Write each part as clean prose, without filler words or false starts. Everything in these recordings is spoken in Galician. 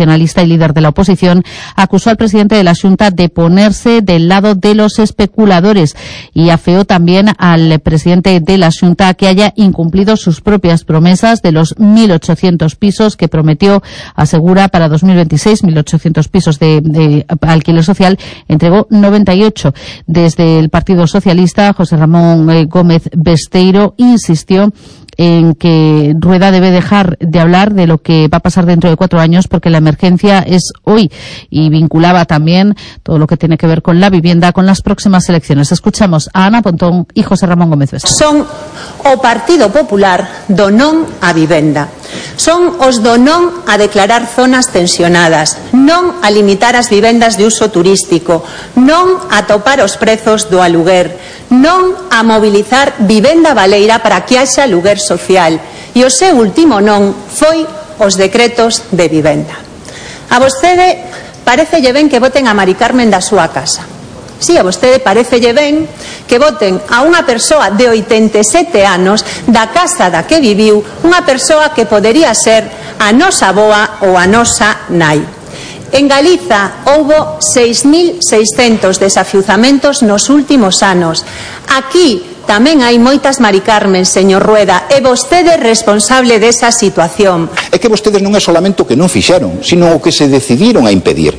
nacionalista y líder de la oposición, acusó al presidente de la Xunta de ponerse del lado de los especuladores y afeó también al presidente de la Xunta que haya incumplido sus propias promesas de los 1.800 pisos que prometió, asegura, para 2026, 1.800 pisos de alquiler social, entregó 98. Desde el Partido Socialista, José Ramón Gómez Besteiro insistió en que Rueda debe dejar de hablar de lo que va a pasar dentro de 4 años porque la emergencia es hoy, y vinculaba también todo lo que tiene que ver con la vivienda con las próximas elecciones. Escuchamos a Ana Pontón y José Ramón Gómez Besteiro. Son o Partido Popular do non a vivenda. Son os do non a declarar zonas tensionadas, non a limitar as vivendas de uso turístico, non a topar os prezos do aluguer, non a mobilizar vivenda baleira para que haxa aluguer social, e o seu último non foi os decretos de vivenda. A vostede parecelle ben que voten a Mari Carmen da súa casa. Si, a vostede parecelle ben que voten a unha persoa de 87 anos da casa da que viviu, unha persoa que podería ser a nosa avoa ou a nosa nai. En Galiza houbo 6.600 desafiuzamentos nos últimos anos. Aquí tamén hai moitas Mari Carmen, señor Rueda, e vostede é responsable desa situación. É que vostedes non é solamente o que non fixeron, sino o que se decidiron a impedir.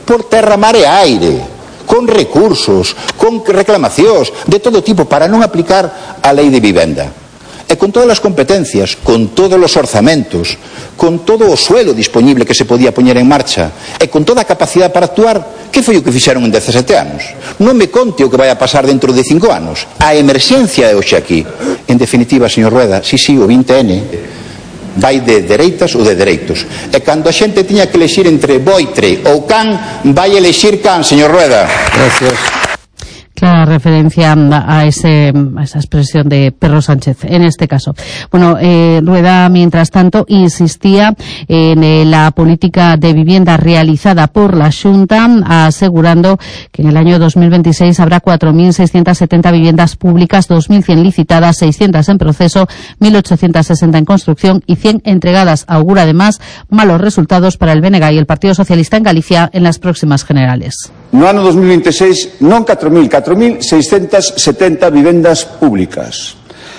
Por terra, mar e aire, con recursos, con reclamacións de todo tipo para non aplicar a lei de vivenda. E con todas as competencias, con todos os orzamentos, con todo o suelo disponible que se podía poñer en marcha e con toda a capacidade para actuar, que foi o que fixeron en 17 anos? Non me conte o que vai a pasar dentro de 5 anos. A emerxencia é hoxe aquí. En definitiva, señor Rueda, sí, o 20N vai de dereitas ou de dereitos. E cando a xente tiña que elexir entre boitre ou can, vai elexir can, señor Rueda. Gracias. Clara referencia a esa expresión de Pedro Sánchez, en este caso. Bueno, Rueda, mientras tanto, insistía en la política de vivienda realizada por la Xunta, asegurando que en el año 2026 habrá 4.670 viviendas públicas, 2.100 licitadas, 600 en proceso, 1.860 en construcción y 100 entregadas. Augura además malos resultados para el BNG y el Partido Socialista en Galicia en las próximas generales. No ano 2026 non 4.670 vivendas públicas,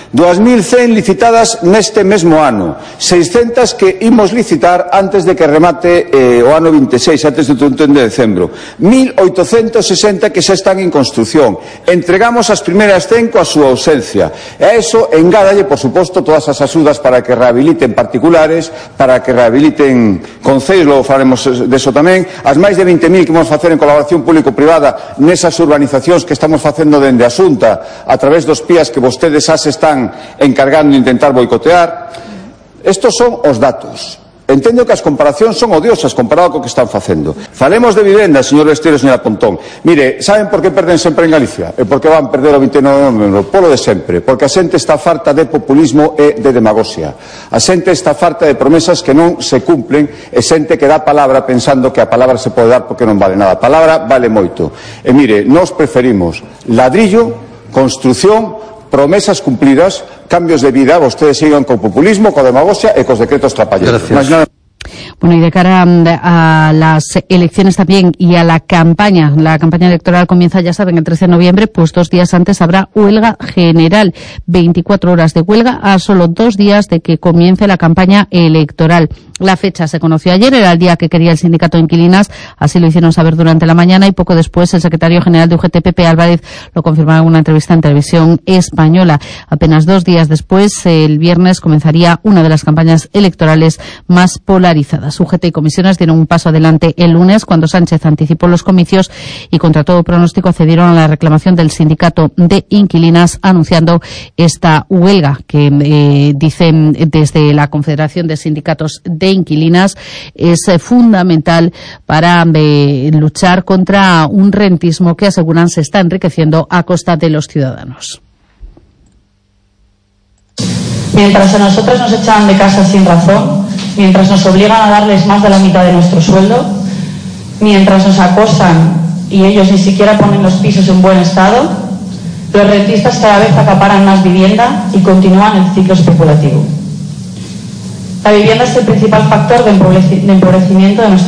2.100 licitadas neste mesmo ano, 600 que imos licitar antes de que remate o ano 26, antes do 31 de decembro, 1.860 que xa están en construción. Entregamos as primeiras 100 coa súa ausencia. E a eso engádalle, por suposto, todas as axudas para que rehabiliten particulares, para que rehabiliten concellos, logo falaremos deso tamén, as máis de 20.000 que vamos facer en colaboración público-privada nesas urbanizacións que estamos facendo dende a Xunta a través dos PIAs que vostedes xa se están encargando de intentar boicotear. Estos son os datos. Entendo que as comparacións son odiosas comparado co que están facendo. Falemos de vivenda, señor Besteiro e señora Pontón. Mire, saben por que perden sempre en Galicia? E por que van perder o 29 de novembro? Polo de sempre. Porque a xente está farta de populismo e de demagoxia. A xente está farta de promesas que non se cumplen e xente que dá palabra pensando que a palabra se pode dar porque non vale nada. A palabra vale moito. E mire, nós preferimos ladrillo, construción, promesas cumplidas, cambios de vida. Vostedes sigan co populismo, co demagoxia e cos decretos trapalleros. Bueno, y de cara a las elecciones también y a la campaña electoral comienza, ya saben, el 13 de noviembre, pues 2 días antes habrá huelga general, 24 horas de huelga a solo 2 días de que comience la campaña electoral. La fecha se conoció ayer, era el día que quería el sindicato de inquilinas, así lo hicieron saber durante la mañana y poco después el secretario general de UGT, Pepe Álvarez, lo confirmaba en una entrevista en Televisión Española. Apenas 2 días después, el viernes, comenzaría una de las campañas electorales más polarizadas. UGT y comisiones dieron un paso adelante el lunes cuando Sánchez anticipó los comicios y contra todo pronóstico accedieron a la reclamación del sindicato de inquilinas anunciando esta huelga que dicen desde la Confederación de Sindicatos de Inquilinas es fundamental para luchar contra un rentismo que aseguran se está enriqueciendo a costa de los ciudadanos. Mientras a nosotros nos echan de casa sin razón, mientras nos obligan a darles más de la mitad de nuestro sueldo, mientras nos acosan y ellos ni siquiera ponen los pisos en buen estado, los rentistas cada vez acaparan más vivienda y continúan el ciclo especulativo. La vivienda es el principal factor de empobrecimiento de nuestra